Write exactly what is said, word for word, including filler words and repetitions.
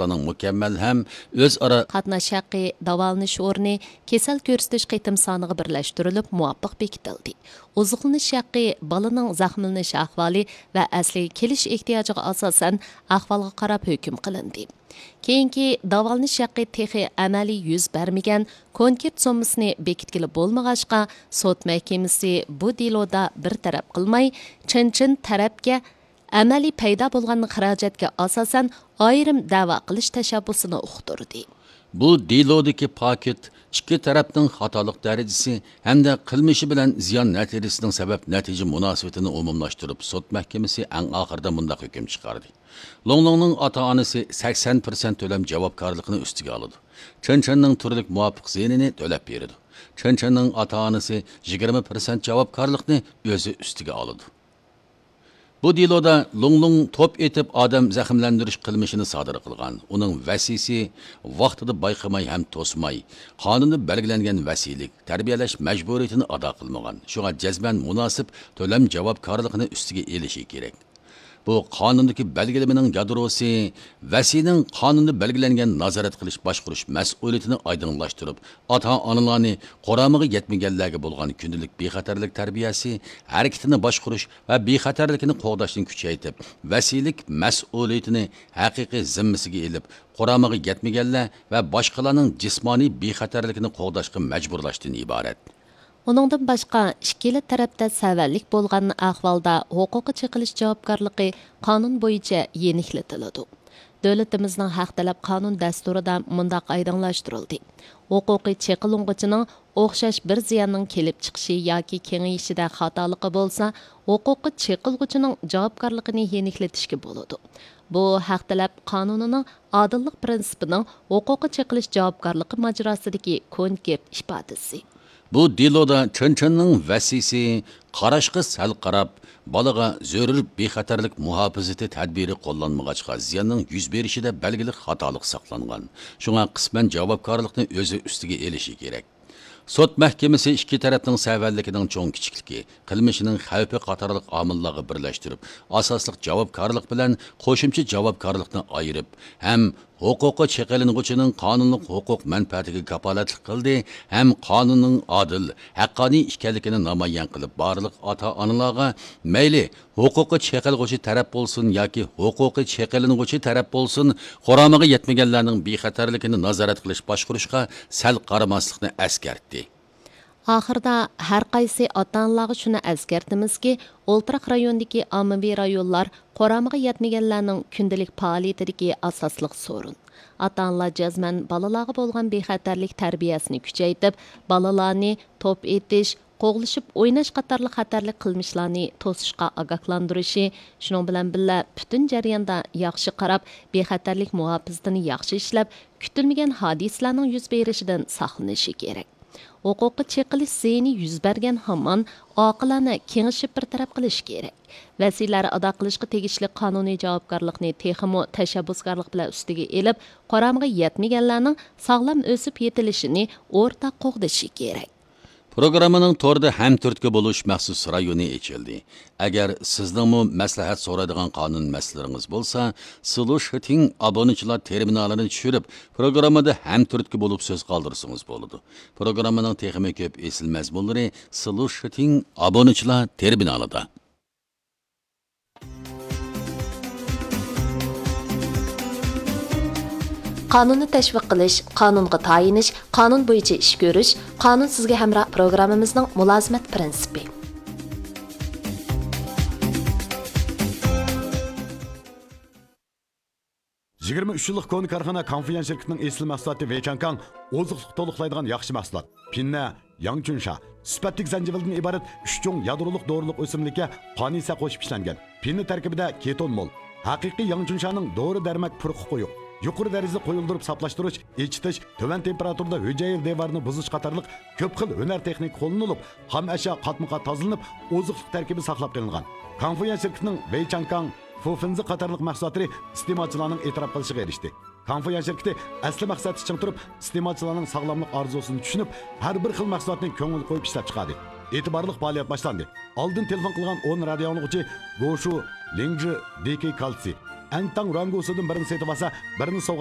مۇكەممەل ھەم ئۆزئارا قاتناش ھەققى، داۋالىنىش ئورنى، كېسەل كۆرسىتىش قېتىم سانىغا بىرلەشتۈرۈلۈپ مۇۋاپىق بېكىتىلدى. ئوزۇقلىنىش ھەققى بالىنىڭ زەخىملىنىش ئەھۋالى ۋە ئەسلىگە كېلىش ئېھتىياجىغا ئاساسەن ئەھۋالغا قاراپ ھۆكۈم قىلىندى. كېيىنكى داۋالىنىش ھەققى تېخى ئەمەلىي يۈز بەرمىگەن، كونكرېت سوممىسىنى بېكىتكىلى بولمىغاچقا، سوت مەھكىمىسى بۇ دېلودا بىر تەرەپ قىلماي، چېن چېن تەرەپكە ئەمەلىي پەيدا بولغان خىراجەتكە ئاساسەن ئايرىم دەۋا قىلىش تەشەببۇسىنى ئۇقتۇردى. بۇ دېلودىكى پاكىت ئىككى تەرەپنىڭ خاتالىق دەرىجىسى ھەمدە قىلمىشى بىلەن زىيان نەتىجىسىنىڭ سەۋەب نەتىجە مۇناسىۋىتىنى ئومۇملاشتۇرۇپ، سوت مەھكىمىسى ئەڭ ئاخىرىدا مۇنداق ھۆكۈم چىقاردى: لوڭلوڭنىڭ ئاتا-ئانىسى سەكسەن پىرسەنت تۆلەم جاۋابكارلىقىنى ئۈستىگە ئالىدۇ. چېن چېننىڭ تۈرلۈك مۇۋاپىق زىيىنىنى تۆلەپ بېرىدۇ. چېن چېننىڭ ئاتا-ئانىسى يىگىرمە پىرسەنت جاۋابكارلىقنى ئۆزى ئۈستىگە ئالىدۇ. بۇ دېلودا لوڭلوڭ توپ ئېتىپ ئادەم زەخىملەندۈرۈش قىلمىشىنى سادىر قىلغان. ئۇنىڭ ۋەسىيسى ۋاقتىدا بايقىماي ھەم توسماي، قانۇندا بەلگىلەنگەن ۋەسىيلىك، تەربىيەلەش مەجبۇرىيىتىنى ئادا قىلمىغان. شۇڭا جەزمەن مۇناسىپ تۆلەم جاۋابكارلىقىنى ئۈستىگە ئېلىشى كېرەك. بۇ قانۇندىكى بەلگىلىمىنىڭ يادروسى ۋەسىينىڭ قانۇندا بەلگىلەنگەن نازارەت قىلىش باشقۇرۇش مەسئۇلىيىتىنى ئايدىڭلاشتۇرۇپ، ئاتا-ئانىلارنى قۇرامىغا يەتمىگەنلەرگە بولغان كۈندىلىك بىخەتەرلىك تەربىيەسى، ھەرىكىتىنى باشقۇرۇش ۋە بىخەتەرلىكىنى قوغداشنى كۈچەيتىپ، ۋەسىيلىك مەسئۇلىيىتىنى ھەقىقىي زىممىسىگە ئېلىپ، قۇرامىغا يەتمىگەنلەر ۋە باشقىلارنىڭ جىسمانىي بىخەتەرلىكىنى قوغداشقا مەجبۇرلاشتىن ئىبارەت. ئۇنىڭدىن باشقا، ئىككىلا تەرەپتە سەۋەنلىك بولغان ئەھۋالدا ھوقۇقى چېقىلىش جاۋابكارلىقى قانۇن بويىچە يېنىكلىتىلىدۇ. دۆلىتىمىزنىڭ ھەق تەلەپ قانۇن دەستۇرىدا مۇنداق ئايدىڭلاشتۇرۇلدى: ھوقۇقى چېقىلغۇچىنىڭ ئوخشاش بىر زىياننىڭ كېلىپ چىقىشى ياكى كېڭىيىشىدە خاتالىقى بولسا، ھوقۇقى چېقىلغۇچىنىڭ جاۋابكارلىقىنى يېنىكلىتىشكە بولىدۇ. بۇ ھەق تەلەپ قانۇنىنىڭ ئادىللىق پىرىنسىپىنىڭ ھوقۇقى چېقىلىش جاۋابكارلىقى ماجىراسىدىكى كونكرېت ئىپادىسى. بۇ دېلودا چېن چېننىڭ ۋەسىيسى قاراشقا سەل قاراپ، بالىغا زۆرۈر بىخەتەرلىك مۇھاپىزىتى تەدبىرى قوللانمىغاچقا، زىياننىڭ يۈز بېرىشىدە بەلگىلىك خاتالىق ساقلانغان. شۇڭا قىسمەن جاۋابكارلىقنى ئۆزى ئۈستىگە ئېلىشى كېرەك. سوت مەھكىمىسى ئىككى تەرەپنىڭ سەۋەنلىكىنىڭ چوڭ-كىچىكلىكى، قىلمىشىنىڭ خەۋپى قاتارلىق ئامىللارغا بىرلەشتۈرۈپ، ئاساسلىق جاۋابكارلىق بىلەن قوشۇمچە جاۋابكارلىقنى ئايرىپ ھەم ھوقۇقى چېقىلىنغۇچىنىڭ قانۇنلۇق ھوقۇق مەنپەئەتىگە كاپالەتلىك قىلدى ھەم قانۇننىڭ ئادىل، ھەققانىي ئىكەنلىكىنى نامايان قىلىپ، بارلىق ئاتا-ئانىلارغا مەيلى ھوقۇقى چېقىلغۇچى تەرەپ بولسۇن ياكى ھوقۇقى چېقىلىنغۇچى تەرەپ بولسۇن، قۇرامىغا يەتمىگەنلەرنىڭ بىخەتەرلىكىنى نازارەت قىلىش باشقۇرۇشقا سەل قارىماسلىقنى ئەسكەرتتى. ئاخىرىدا ھەر قايسى ئاتا-ئانىلارغا شۇنى ئەسكەرتىمىزكى، ئولتۇراق رايوندىكى ئاممىۋى رايونلار قۇرامىغا يەتمىگەنلەرنىڭ كۈندىلىك پائالىيىتىدىكى ئاساسلىق سورۇن. ئاتا-ئانىلار جەزمەن بالىلارغا بولغان بىخەتەرلىك تەربىيەسىنى كۈچەيتىپ، بالىلارنى توپ ئېتىش، قوغلىشىپ ئويناش قاتارلىق خەتەرلىك قىلمىشلارنى توسۇشقا ئاگاھلاندۇرۇشى، شۇنىڭ بىلەن بىللە، پۈتۈن جەرياندا ياخشى قاراپ، بىخەتەرلىك مۇھاپىزىتىنى ياخشى ئىشلەپ، كۈتۈلمىگەن ھادىسىلەرنىڭ يۈز بېرىشىدىن ساقلىنىشى كېرەك. ھوقۇقى چېقىلىش زىيىنى يۈز بەرگەن ھامان ئاقىلانە كېڭىشىپ بىر تەرەپ قىلىش كېرەك. ۋەسىيلەر ئادا قىلىشقا تېگىشلىك قانۇنىي جاۋابكارلىقنى تېخىمۇ تەشەببۇسكارلىق بىلەن ئۈستىگە ئېلىپ، قۇرامىغا يەتمىگەنلەرنىڭ ساغلام ئۆسۈپ يېتىلىشىنى ئورتاق قوغدىشى كېرەك. پروگراممىنىڭ توردا ھەمتۈرتكە بولۇش مەخسۇس رايونى ئېچىلدى. ئەگەر سىزنىڭمۇ مەسلىھەت سورايدىغان قانۇن مەسىلىلىرىڭىز بولسا، سلۇشىتىڭ ئابۇنىچىلار تېرمىنالىنى چۈشۈرۈپ، پروگراممىدا ھەمتۈرتكە بولۇپ سۆز قالدۇرسىڭىز بولىدۇ. پروگراممىنىڭ تېخىمۇ كۆپ ئېسىل مەزمۇنلىرى سلۇشىتىڭ ئابۇنىچىلار تېرمىنالىدا. قانۇننى تەشۋىق قىلىش، قانۇنغا تايىنىش، قانۇن بويىچە ئىش كۆرۈش، قانۇن سىزگە ھەمراھ پروگراممىمىزنىڭ مۇلازىمەت پىرىنسىپى. يىگىرمە ئۈچ يىللىق كونا كارخانا كاڭفۇيۈەن شىركىتىنىڭ ئېسىل مەھسۇلاتى ۋېيچاڭكاڭ ئوزۇقلۇق تولۇقلايدىغان ياخشى مەھسۇلات. پىننە، ياڭچۈنشا، سۈپەتلىك زەنجىۋىلدىن ئىبارەت ئۈچ چوڭ يادرولۇق دورىلىق ئۆسۈملۈككە قانىسە قوشۇپ ئىشلەنگەن. پىننە تەركىبىدە كېتون مول. ھەقىقىي ياڭچۈنشانىڭ دورا دەرمەك پۇرىقى قويۇق، يۇقىرى دەرىجىدە قويۇلدۇرۇپ ساپلاشتۇرۇش، ئېچىتىش، تۆۋەن تېمپېراتۇرىدا ھۈجەيرە دىۋارىنى بۇزۇش قاتارلىق كۆپ خىل ھۈنەر تېخنىكا قوللىنىلىپ، خام ئەشيا قاتمۇ قات تازىلىنىپ، ئوزۇقلۇق تەركىبى ساقلاپ قېلىنغان. كاڭفۇيۈەن شىركىتىنىڭ ۋېيچاڭكاڭ، فۇفېنزې قاتارلىق مەھسۇلاتلىرى ئىستېمالچىلارنىڭ ئېتىراپ قىلىشىغا ئېرىشتى. كاڭفۇيۈەن شىركىتى ئەسلى مەقسەتتە چىڭ تۇرۇپ، ئىستېمالچىلارنىڭ ساغلاملىق ئارزۇسىنى چۈشىنىپ، ھەر بىر خىل مەھسۇلاتنى كۆڭۈل قويۇپ ئىشلەپ چىقاردى. ئېتىبارلىق پائالىيەت باشلاندى. ئالدىن تېلېفون قىلغان ئون رادىيو ئاڭلىغۇچى گوشۇ، لىڭجى، دىكى كالتسىي، ئەنتاڭ رۇەنگوسىدىن بىرنى سېتىۋالسا، بىرنى سوۋغا